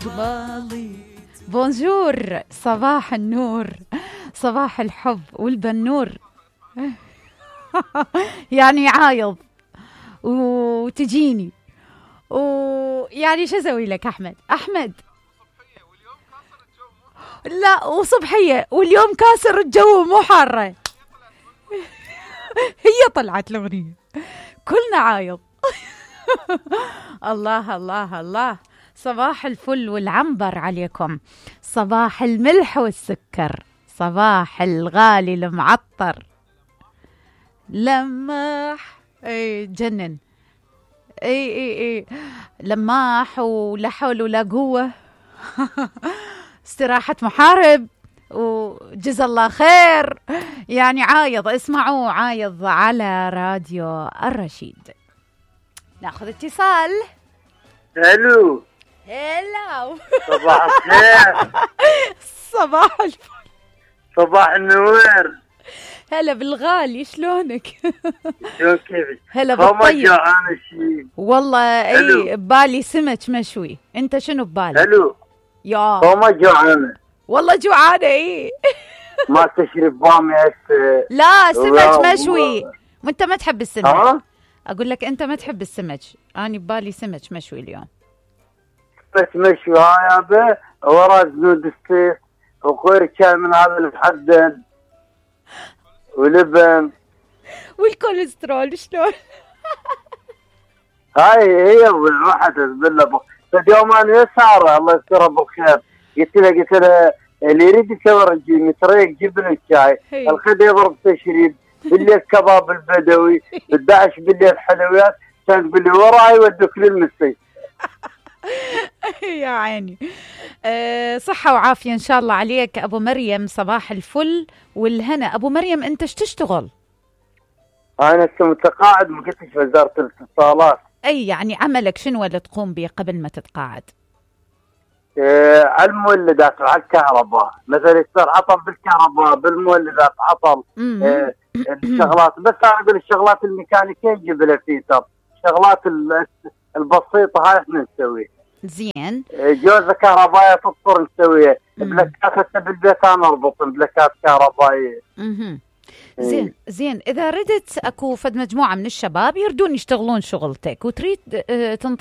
قبالي. بونجور، صباح النور، صباح الحب والبنور. يعني عايض وتجيني ويعني شو اسوي لك احمد لا وصبحيه واليوم كاسر الجو مو حاره. هي طلعت الاغنيه كلنا عايض. الله الله الله. صباح الفل والعنبر عليكم، صباح الملح والسكر، صباح الغالي المعطر. لماح اي جنن، اي لماح ولا حول ولا قوة. استراحة محارب وجزا الله خير. يعني عايض، اسمعوا عايض على راديو الرشيد. ناخذ اتصال. الو. هلا. صباح الخير. صباح الفل. صباح النور. هلا بالغالي، شلونك؟ شلون كيفك؟ هلا بالطيب. جوعان شيء والله اي ببالي سمك مشوي. انت شنو ببالك؟ حلو يا ما جوعانه والله جوعانه. اي ما تشرب بامي هسه؟ لا سمك مشوي. وانت ما تحب السمك؟ ها؟ اقول لك انت ما تحب السمك، انا ببالي سمك مشوي اليوم. سمك مشوي هاي يابا، ورا زنود السيف وخير كان من هذا المحدد ولبن والكوليسترول شلون؟ هاي هي والواحد بالله. فاليوم انا يسار الله يسترها بالخير، قلت له اللي يريد يسوي رجيم يتريق جبن الشاي، الخد يضرب تشريب، بالليل كباب البدوي، ب11 بالليل حلويات، كان تقول لي وراي يودوك للمستشفى. يا عيني. صحة وعافية إن شاء الله عليك أبو مريم. صباح الفل والهنا. أبو مريم أنت ايش تشتغل؟ أنا متقاعد، ما كنتش في وزارة الاتصالات. أي يعني عملك شنو اللي تقوم به قبل ما تتقاعد؟ على المولدات وعلى الكهرباء، مثلا يصير عطل بالكهرباء، بالمولدات عطل. الشغلات بس أنا أقول الشغلات الميكانيكية نجيب لها فيتر، الشغلات البسيطة هاي احنا نسويها. زين. جوزة كهربائية تضطر نسويها، بلاكات هسه بالبيت انا اربط بلاكات كهربائية. زين اذا ردت اكو فد مجموعة من الشباب يردون يشتغلون شغلتك وتريد تنطي